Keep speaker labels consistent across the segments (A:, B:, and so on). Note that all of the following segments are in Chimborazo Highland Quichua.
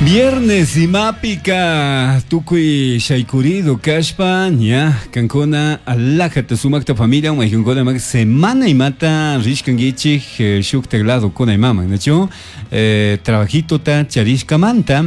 A: Viernes imapika tukuy shaykurido kashpa ña kankuna alajata sumakta familia maykankuna mak semana imata rishkankichik eh, shuktak ladokuna imaman nachu eh, trabajitota charishkamanta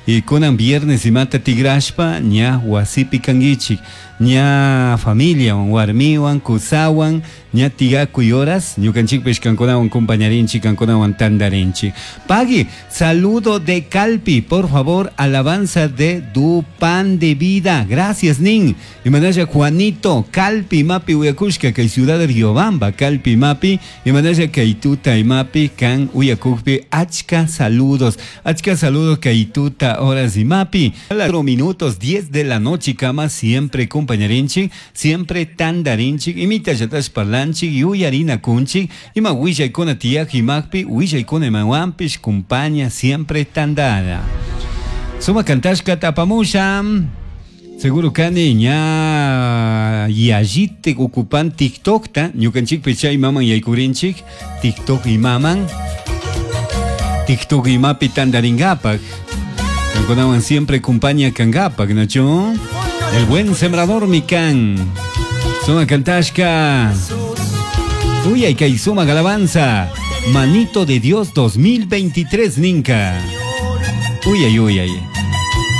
A: y kunan viernes imata tigrashpa ña wasipi kankichik ña familiawan warmiwan kusawan ña tiyakuy horas ñukanchikpish kankunawan compañarinchik kankunawan tandarinchik pagui saludo de Calpi por favor alabanza de du pan de vida gracias nin imanalla Juanito Calpi mapi uyakushka kay ciudad de Riobamba Calpi mapi imanalla kay tuta imapi kan uyakukpi achka saludos achka saludos kay tuta horas imapi 4 minutos 10 de la noche kama siempre compañarinchik siempre tandarinchik imita llatash parlanchik yuyarina kunchik ima willaykuna tiyaq imakpi willaykuna imawanpish kumpaña siempre tandara suma kantashka tapamusha Seguro kani ña yallite ocupan TikTokta ñukanchikpi chay maman yaykurinchik TikTok imaman TikTok imapi tandaringapak Kankunawan siempre compañía kangapak nachu El buen sembrador mikan Suma kantashka Uy kay suma alabanza Manito de Dios 2023 ninka Uy ay uy ay.